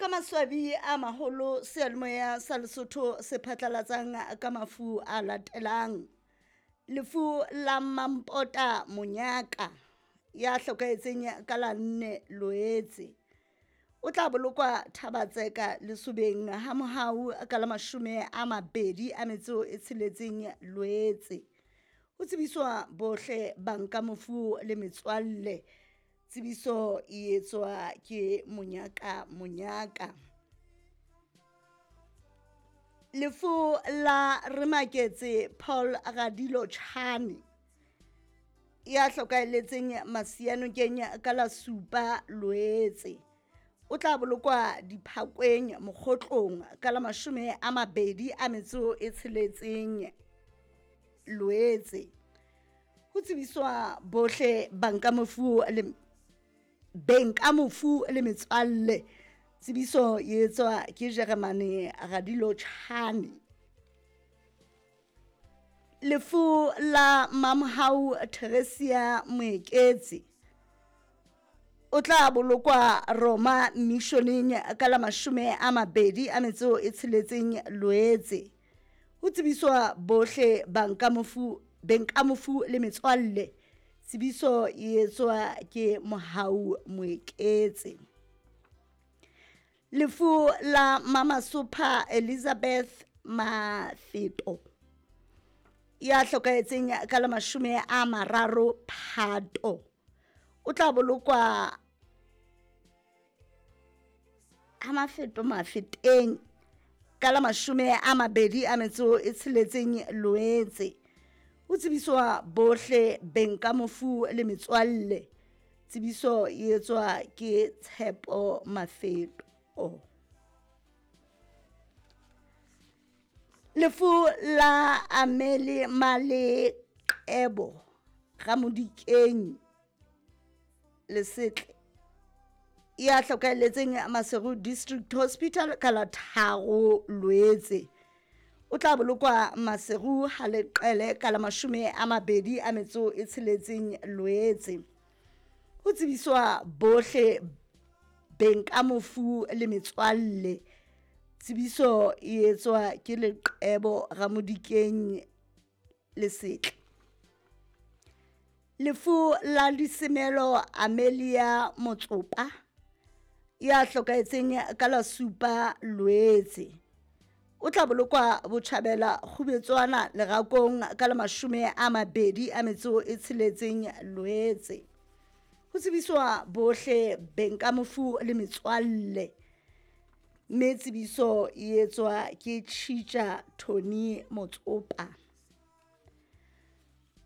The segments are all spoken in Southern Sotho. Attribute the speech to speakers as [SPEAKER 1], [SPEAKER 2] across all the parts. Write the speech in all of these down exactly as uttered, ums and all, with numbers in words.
[SPEAKER 1] Ke ka maswabi a maholo seyalemoya sa Lesotho se phatlalatsang ka mafu a latelang. Lefu la Mampota Monyaka ya hlokahetseng ka la nne Loetse. O tla bolokwa Thabatseka Lesobeng ha mohau ka la mashome a mabedi a metso e tsheletseng Loetse. Ho tsebiswa bohle banka mofu le metswalle. Tsebiso e etswa ke Monyaka Monyaka. Lefu la Remaketse Paul Radilo Chane ya hlokahelletseng Masianokeng ka la supa Loetse. O tla bolokwa Diphakweng Mokgotlong ka la mashome a mabedi a metso e tsheletseng Loetse. Ho tsebiswa bohle banka mofu le beng ka mofu le metswalle. Tsebiso e etswa ke Jeremane Radilo Chane. Lefu la Mamhau Theresia Moeketsi o tla bolokwa Roma Missioneng ka la mashome a mabedi a metso e tsheletseng Loetse. Ho tsebiswa bohle banka mofu beng ka mofu le metswalle. Tsebiso e etswa ke Mohau Moeketse. Lefu la Mamasopha Elizabeth Mafeto ya hlokahetseng ka la mashome a mararo Phato. O tla bolokwa ha Mafeto Mafeteng ka la mashome a mabedi a metso e tsheletseng Loetse. Ho tsebiswa bohle beng ka mofu le metswalle. Tsebiso e etswa ke Tshepo Mafeto. Lefu la Amele Maleqebo Ramodikeng Lesetle ya hlokahelletseng Maseru District Hospital ka la tharo Loetse. O tla bolokwa Maseru ha leqele ka la mashome a mabedi a metso e tsheletseng Loetse. Ho tsebiswa bohle beng ka mofu le metswalle. Tsebiso e etswa ke Leqebo Ramodikeng Lesetle. Lefu la Disemelo Amelia Motsopa ya hlokahetseng ka la supa Loetse. O tla bolokwa Botjhabela Kgubetswana Lerakong ka la mashome a mabedi a metso e tsheletseng Loetse. Ho tsebiswa bohle beng ka mofu le metswalle. Mme tsebiso e etswa ke Tjhitja Tony Motsopa.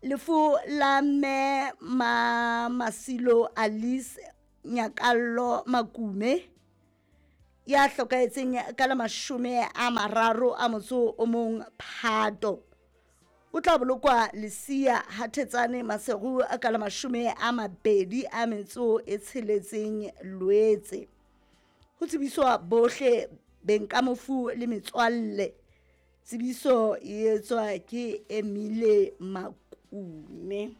[SPEAKER 1] Lefu la Mme Ma Masilo Alice Nyakallo Makume ya hlokahetseng ka la mashome a mararo a motso o mong Phato. O tla bolokwa Lesia Hathetsane Maseru ka la mashome a mabedi a metso e tsheletseng Loetse. Ho tsebiswa bohle beng ka mofu le metswalle. Tsebiso e etswa ke Emile Makume.